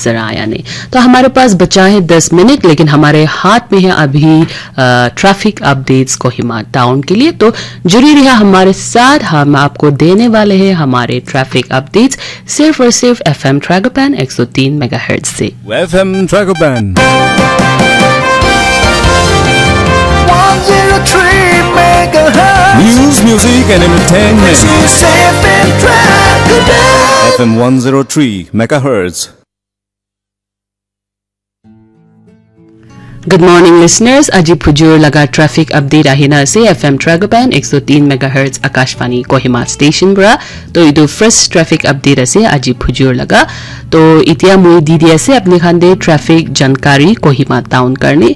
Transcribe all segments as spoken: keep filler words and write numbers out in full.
नजर आया नहीं। तो हमारे पास बचा है दस मिनट, लेकिन हमारे हाथ में है अभी ट्रैफिक अपडेट्स कोहिमा टाउन के लिए। तो जुड़ी रहिए हमारे साथ, हम आपको देने वाले हैं हमारे ट्रैफिक अपडेट्स सिर्फ और सिर्फ एफएम ट्रैगोपैन एक सौ तीन मेगाहर्ट्ज से। एफएम ट्रैगोपैन। One zero three megahertz. News, music and entertainment. This is F M Dragon. F M one zero three megahertz. Good morning, listeners. Aji phujur laga traffic update ahina ase F M Dragopan ek so tin megahertz Akashvani Kohima station para. To etu first traffic update ase aji phujur laga. To itia moi di di ase apni khan de traffic jankari Kohima town karne.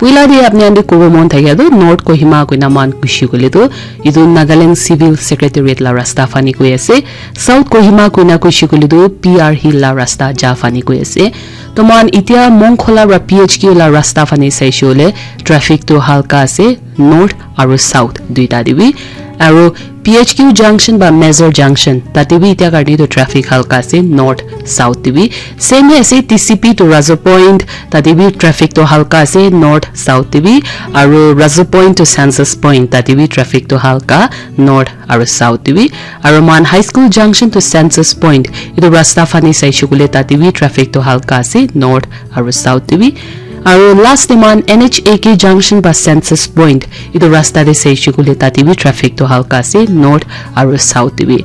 Puila de apni khan de kobo mon thakya tu North Kohima koina man kushi kule tu etu Nagaland Civil Secretariat la rasta fani koi ase. South Kohima koina kushi kule tu P R Hill la rasta ja fani koi ase. To mohan itia Mongkhola pra P H Q la rasta fani saishe hoile traffic tu halka ase, north aru south duita te bi. Aru P H Q junction ba Major junction tate bi itia karne tu traffic halka ase, north south te bi. Same he ase T C P to Razo Point, tate bi traffic tu halka ase, north south te bi. Aru Razo Point to Census Point tate bi traffic tu halka, north aru south te bi. Aru mohan High School junction to Census Point, etu rasta fani saishe koile tate bi traffic tu halka ase, north aru south te bi. Aru last te mohan N H A K junction ba Census Point, etu rasta te saishe koile tate bi traffic tu halka ase, north aru south te bi.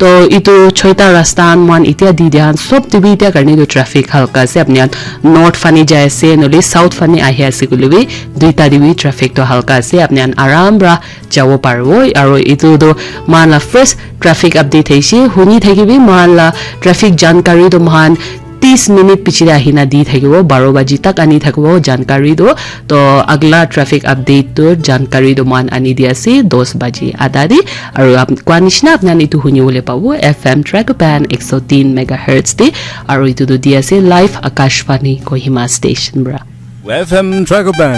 To etu choita rasta khan mohan itia di dia khan sob te bi itia karne etu traffic halka ase. Apni khan north fani jai ase, nohole south fani ahi ase koile bi, duita te bi traffic tu halka ase. Apni khan aram pra jabo paribo. Aru etu tu mohan la first traffic update hoise. Huni thakibi mohan la traffic jankari tu mohan tis minute piche te ahina di thakibo, baro baji tak ani thakibo jankari tu. To agla traffic update tu jankari tu mohan ani di ase dos baji adha te. Aru ap-, koa nishina apni khan etu huni bole pabo F M Dragopan ek so tin megahertz te. Aru etu tu di ase live Akashvani Kohima station pra. F M Dragopan.